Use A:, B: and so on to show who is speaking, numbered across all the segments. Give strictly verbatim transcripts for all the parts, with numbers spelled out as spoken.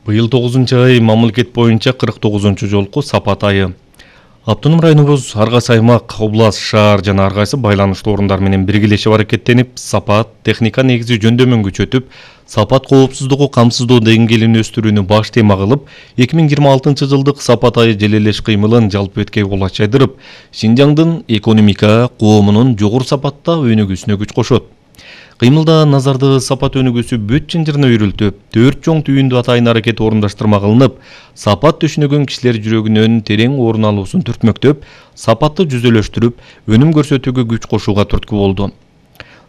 A: Быйыл тогузунчу ай мамлекет боюнча кырк тогузунчу жолку сапат айы. Автоном районубуз ар кайсы аймак, область, шаар жана ар кайсы байланыштуу орундар менен биргелешип аракеттенип, сапат, техника негизи жөндөмүн күчөтүп, сапат коопсуздугу камсыздоо деңгээлин өстүрүүнү баш тема кылып, эки миң жыйырма алтынчы жылдык сапат айы желелеш кыймылын жалпы беткей кулач жайдырып, Шинжаңдын экономика, коомунун жогору сапатта өнүгүүсүнө күч кошот. Кыймылда назарды сапат өнүгүүсү бүт чынжырына үйрүлтүп, төрт чоң түйүндү атайын аракет орундаштырма кылынып, сапат түшүнүгүн кишилер жүрөгүнөн терең орун алуусун түртмөктөп, сапатты жүзөлөштүрүп, өнүм көрсөтүүгө күч кошууга түрткү болду.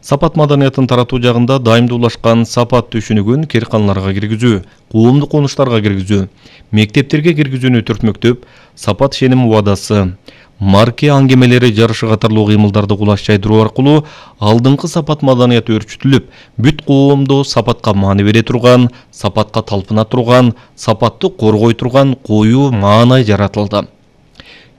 A: Сапат маданиятын таратуу жагында дайымдуулашкан сапат түшүнүгүн керканаларга киргизүү, коомдук конуштарга киргизүү, мектептерге киргизүүнү түртмөктөп, сапат ишеним убадасы, марке аңгемелери жарышы катарлуу кыймылдарды кулаш жайдыруу аркылуу алдыңкы сапат маданияты өрчүтүлүп, бүт коомдо сапатка маани бере турган, сапатка талпына турган, сапатты коргой турган коюу маанай жаратылды.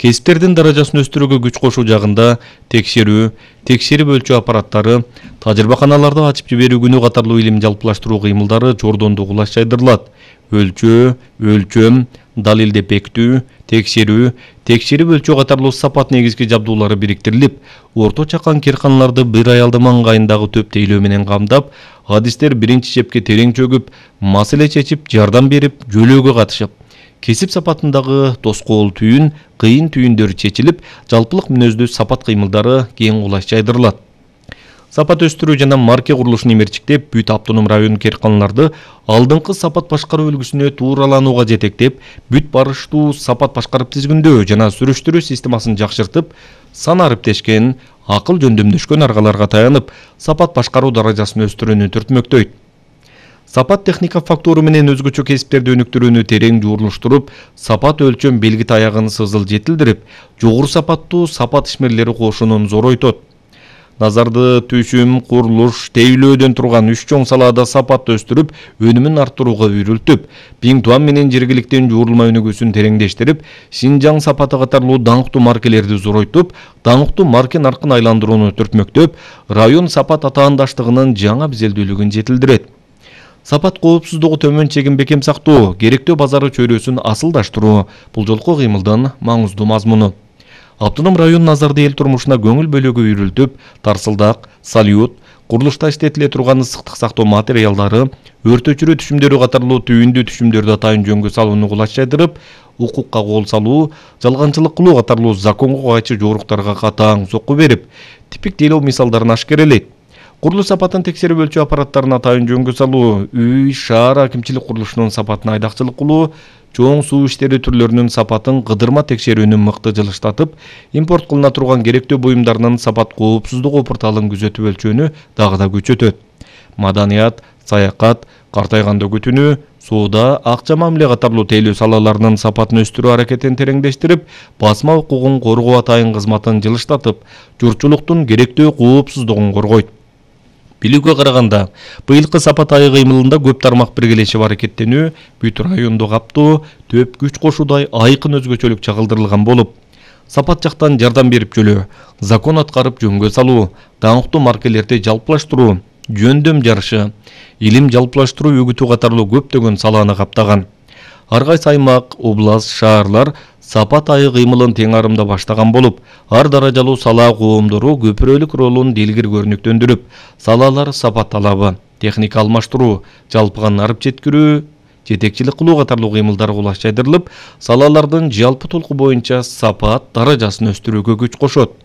A: Кесиптердин даражасын өстүрүүгө күч кошуу жагында текшерүү, текшерип өлчөө аппараттары, тажрыйбаканаларды ачып жиберүү күнү катарлуу илим жалпылаштыруу кыймылдары жордондуу кулаш жайдырылат. Өлчөө, өлчөм, далилдеп бекитүү, текшерүү, текшерип өлчөө катарлуу сапат негизги жабдуулары бириктирилип, орто чакан керканаларды бир аялды маңгайындагы төп тейлөө менен камдап, адистер биринчи чепке терең чөгүп, маселе чечип, жардам берип, жөлөөгө катышып, кесип сапатындагы тоскоол түйүн, кыйын түйүндөр чечилип, жалпылык мүнөздүү сапат кыймылдары кең кулаш жайдырылат. Сапат өстүрүү жана марке курулушун имерчиктеп, бүт автоном район керканаларды алдыңкы сапат башкаруу үлгүсүнө туураланууга жетектеп, бүт барыштуу сапат башкарып тизгиндөө жана сүрүштүрүү системасын жакшыртып, сан ариптешкен, акыл жөндөмдөшкөн аргаларга таянып, сапат башкаруу даражасын өстүрүүнү түртмөктөйт. Сапат техника фактуру менен өзгөчө кесиптерди өнүктүрүүнү терең жуурулуштуруп, сапат өлчөм белги таягын сызыл жетилдирип, жогору сапаттуу сапат ишмерлери кошунун зоройтот. Назарды түшүм, курулуш, тейлөөдөн турган үч чоң салаада сапатты өстүрүп, өнүмүн арттырууга үйрүлтүп, Биңтуан менен жергиликтин жуурулма өнүгүүсүн тереңдештирип, Шинжаң сапаты катарлуу даңктуу маркелерди зоройтуп, даңктуу марке наркын айландырууну түртмөктөп, район сапат атаандаштыгынын жаңа бизелдүүлүгүн жетилдирет. Сапат коопсуздугу төмөн чегин бекем сактоо, керектүү базары чөйрөсүн асылдаштыруу бул жолку кыймылдын маңыздуу мазмуну. Автоном район назарды эл турмушуна көңүл бөлүүгө үйрүлтүп, тарсылдак, салют, курулушта иштетиле турган ысыктык сактоо материалдары, өрт өчүрүү түшүмдөрү катарлуу түйүндүү түшүмдөрдү атайын жөнгө салууну кулач жайдырып, укукка кол салуу, жалганчылык кылуу катарлуу законго кайчы жоруктарга катаң сокку берип, типик тейлөө мисалдарын ашкерелейт. Курулуш сапатын текшерип өлчөө аппараттарын атайын жөнгө салуу, үй, шаар акимчилик курулушунун сапатын айдакчылык кылуу, чоң суу иштери түрлөрүнүн сапатын кыдырма текшерүүнү мыкты жылыштатып, импорт кылына турган керектүү буюмдарынын сапат коопсуздугу порталын күзөтүп өлчөөнү дагы да күчөтөт. Маданият, саякат, картайганда күтүнүү, соода, акча мамиле катарлуу тейлөө салаларынын сапатын өстүрүү аракетин тереңдештирип, басма укугун коргоо атайын кызматын жылыштатып, журтчулуктун керектүү коопсуздугун коргойт. Билүүгө караганда, быйылкы сапат айы кыймылында көп тармак биргелешип аракеттенүү, бүт районду каптоо, төп күч кошуудай айкын өзгөчөлүк чагылдырылган болуп, сапат жактан жардам берип жөлөө, закон аткарып жөнгө салуу, даңктуу маркелерди жалпылаштыруу, жөндөм жарышы, илим жалпылаштыруу үгүтүү катарлуу көптөгөн салааны каптаган. Ар кайсы аймак, область, шаарлар сапат айы кыймылын тең арымда баштаган болуп, ар даражалуу сала коомдору көпүрөлүк ролун делгир көрүнүктөндүрүп, салалар сапат талабы, техника алмаштыруу, жалпыган арып жеткирүү, жетекчилик кылуу катарлуу кыймылдар кулаш жайдырылып, салалардын жалпы толку боюнча сапат даражасын өстүрүүгө күч кошот.